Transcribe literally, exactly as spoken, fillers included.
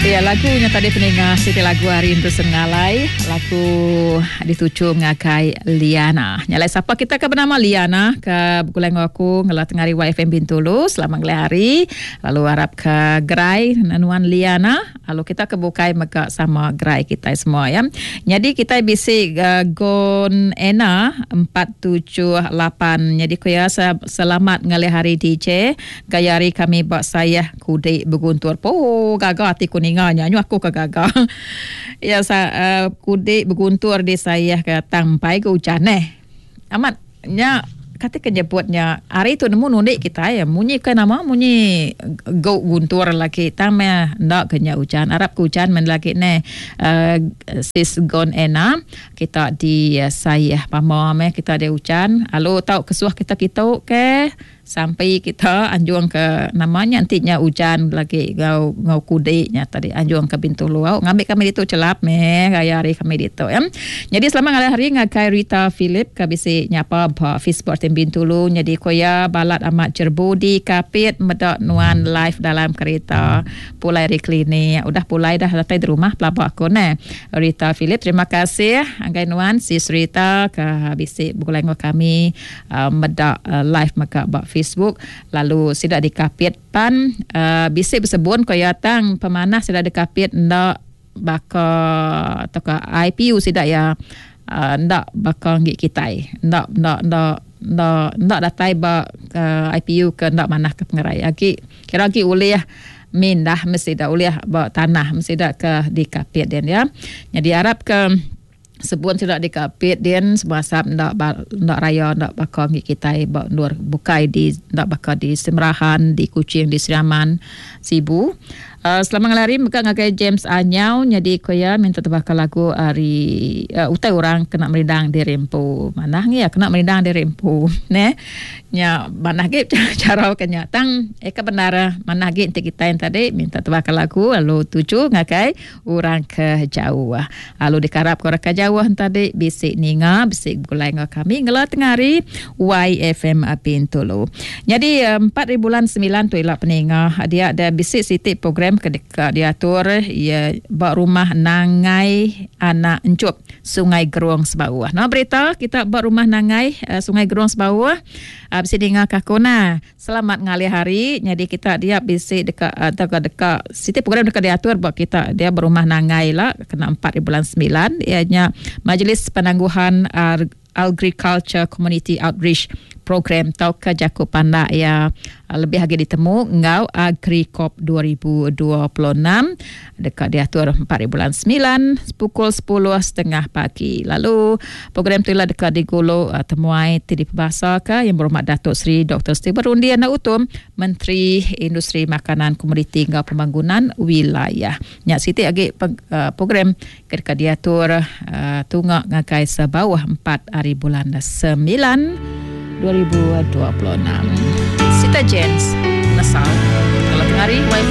Ya, lagunya tadi peninga siti lagu hari Anderson Ngalai, lagu dituju ngagai Liana. Nyalai sapa kita ke bernama Liana ke begulai enggau aku ngela tengah hari Y F M Bintulu. Selamat ngelai hari. Lalu harap ke gerai nuan Liana. Lalu kita ke bukai mega sama gerai kita semua ya. Jadi kita bisi uh, Gon Ena empat tujuh lapan. Jadi ku ya selamat ngalih hari D J. Gaya hari kami bak saya kudik beguntur. Po gaga hati ku ninga nya nyu aku ke gaga. Ya sa, uh, kudik beguntur di saya ke tampai ke hujan eh. Amat nya kata kenyebutnya hari tu nemu nundik kita ya munyi ke nama munyi go guntur lagi tame ndak kenya hujan arab ke hujan men lagi ne uh, sis Gon Ena kita di uh, saya pama me kita ada hujan lalu tau kesuah kita kitu ke sampai kita anjung ke namanya nantinya hujan lagi ngau ngau kudiknya tadi anjung ke Bintulu au ngambil kami ditu celap me gaya hari kami ditu ya. Jadi selama ngalih hari ngagai Rita Philip ke bisi nyapa ba Facebook tim Bintulu jadi koya balat amat jerbu di Kapit medak nuan live dalam kereta pulai dari klinik udah pulai dah datai di rumah pelabak aku ne Rita Philip terima kasih anggai nuan sis Rita ke bisi begulai ngau kami uh, medak uh, live maka ba Facebook lalu sidak dikapit pan uh, bisik bersebun koya tang pemanah sidak dikapit ndak baka atau ke I P U sidak ya uh, ndak baka ngi kitai ndak ndak ndak ndak ndak datai ba uh, I P U ke ndak manah ke pengerai agi kira agi ulih mindah mesti dak ulih ba tanah mesti dak ke dikapit den ya. Jadi harap ke sebun sudah dikapit den sebasap ndak ndak raya ndak bakal ngi kitai ba nur bukai di ndak bakal di Semerahan di Kuching di Sriaman Sibu. Uh, selamat ngalari mega ngagai James Anyau jadi koya minta tebakal lagu hari uh, utai orang kena merindang di rempu. Manah ngi ya kena merindang di rempu ne. Nya manah ge cara kenya tang eh ke benar manah ge enti kita yang tadi minta tebakal lagu lalu tuju ngagai orang ke jauh. Lalu dikarap ke orang ke jauh tadi bisik ninga bisik gulai ngau kami ngela tengah hari Y F M Bintulu. Jadi empat hari bulan sembilan tu ilak peninga dia ada bisik siti program ketika diatur ya bak rumah Nangai Anak Encup Sungai Geruang Sebawah. Nah berita kita bak rumah Nangai uh, Sungai Geruang Sebawah uh, bisi dengar kakona. Selamat ngalih hari. Jadi kita dia bisi dekat atau uh, dekat siti program dekat diatur bak kita dia berumah Nangai lah kena empat bulan sembilan ianya Majlis Penangguhan Agriculture Community Outreach Program tauka jaku pandak ya lebih lagi ditemu ngau Agricop dua ribu dua puluh enam dekat diatur empat bulan sembilan pukul sepuluh setengah pagi. Lalu program tu ialah dekat digolo uh, temuai ti dipebasa ke yang berhormat Datuk Seri Doktor Stephen Rundi Anak Utum Menteri Industri Makanan Komoditi ngau Pembangunan Wilayah. Nyak siti lagi uh, program ketika diatur uh, tungak ngagai sebawah empat hari bulan sembilan dua ribu dua puluh enam. Sita Jens Nesal. Kalau tengah hari Y F M